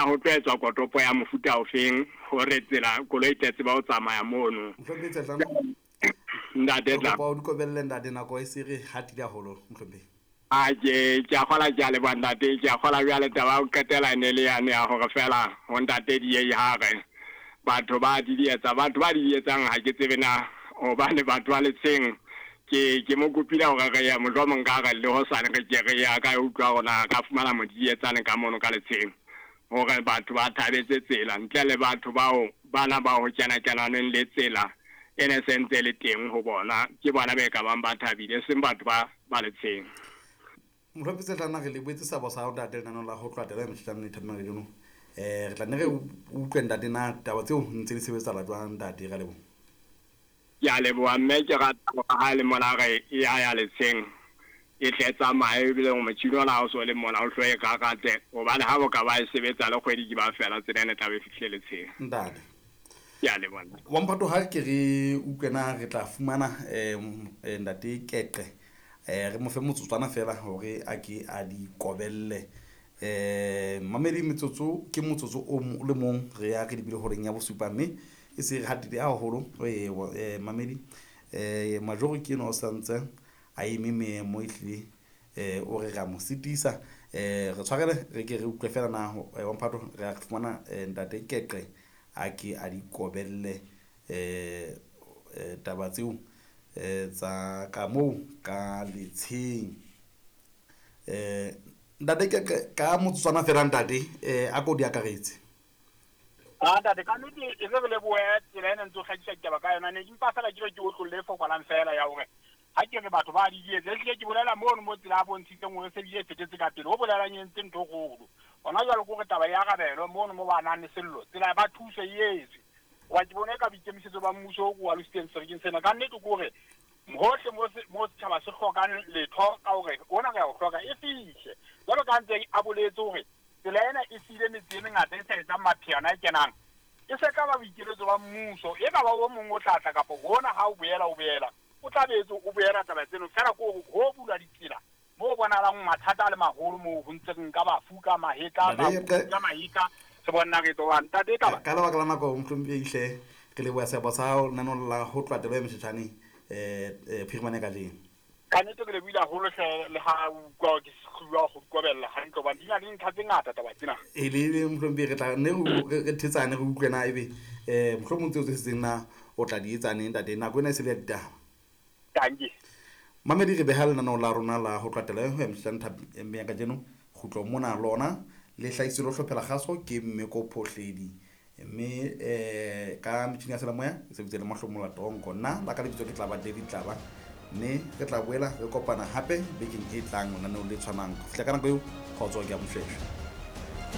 Ho tlo etswa kotopo ya mofuta ofeng hore tsela koloi e tle tseba ho tsamaya mono. Mohlomphehi Tshetlana. Ntate Re tla. kopa o di kobelle ntate, nako e se re hatile haholo mohlomphehi. A ke a kgola, ke a leboha ntate, ke a kgola. Jwale taba ya ho qetela e ne le yane ya hore fela ho ntate Diei ha re batho ba di etsa, batho ba di etsang ha ke tsebe na hobane batho ba Letsheng ke mo kopile hore re ye mohlomong ka re le hosane re ke re ya ka utlwa hore na ka fumana modidietsane ka mono ka Letsheng hore batho ba thabetse tsela ntle le batho bao bana ba ho kena kenaneng le tsela e ne se ntse le teng ho bona, ke bona be ka bang ba thabile, seng batho ba Letsheng. Mohlomphehi Tshetlana, re lebohetse seabo sa hao ntate lenaneong la ho tloha taba ya metjhini le thapelo kajeno. Re tla nne re utlwe ntate na taba tseo ntse di sebetsahala jwang ntate, re a leboha. Ke a leboha mme ke rata hore ha e le mona re e ya ya Letsheng e tle tsamaye, ebile motjhini ona ha o so le mona o hlo e rarate, hobane ha bo ka ba e sebetsa le kgwedi ke ba fela tsela ena e tla be e fihlile Letsheng. Ntate. Ke a leboha. Wa mphato ha ke re utlwe na re tla fumana ntate Keqe, re mo fe motsotswana fela hore a ke a di kobelle. Mamedi, metsotso ke motsotso o le mong re ya re lebile horeng ya bosupa, mme e se re hatile haholo. Mamedi, Majoro ke enwa o santse a eme meemo ehlile, o re ra mo sitisa. Re tshwarele re ke re utlwe fela na wa mphato re a fumana ntate Keqe a ke a di kobelle taba tseo tsa ka moo ka Letsheng. Ntate Keqe, ka motsotswana fela ntate, a ko di akaretse. Ntate, ka nnete e re re lebohe tsela ena ntse o hlakisa ditaba ka yona. Ne ke mpa fela ke re ke otlolle e fokolang fela ya hore ha ke re batho ba di etse, ehlile ke bolela mono mo tsela a bontshitseng hore se bile e fetetse ka pele, ho bolelang e entse ntho e kgolo. Hona jwale ke hore taba e arabelwe mono mo ba nang le sello, tsela ba thuso e etswe. Hoba ke bone ka boikemisetso ba mmuso o ko alositseng serekeng sena. Ka nnete ke hore hohle mo setjhaba se hlokang letho ka hore ona re a o hloka e fihle. Jwalo ka ntse a boletse hore tsela ena e siile metse e mengata e sa etsang mapheano a kenang, e se tla ba boikeletso ba mmuso, e ka ba o mong o tla tla kapa hona ha o boela o boela o tla be o boela taba tseno fela, ke hore ho bulwa ditsela mo bonahalang mathata a le maholo moo ho ntse re nka bafu ka mahetla, ka mahetla re bona re tlo ntate taba. Ka lebaka la nako mohlomphehi hle re leboha seabo sa hao lenaneong la ho tloha taba ya metjhetjhane phirimane kajeno. Ka nnete ke lebohile haholo hle, le ha utlwa ke hlolwa ho kobella hantle hobane di na le dintlha tse ngata taba tsena. E le mohlomphehi re tla nne re thetsane re utlwe na ebe mohlomong tseo tse setseng na o tla di etsa neng ntate, nako ena e se le ya ditaba. Dankie. Mamedi, re beha lenaneo la rona la ho tloha taba ya metjhetjhane thapelo ya kajeno kgutlo mona lona le hlahiswe le ho hlophela kgaso ke Mmeko Phohledi, mme ka metjhini ya selemoya e sebeditse le Mahlomola Tonko. Nna la ka lebitso ke Tlaba David Tlaba, mme re tla boela re kopana hape bekeng e tlang lenaneong le tshwanang. Ho fihla ka nako eo, kgotso ke a moshweshwe.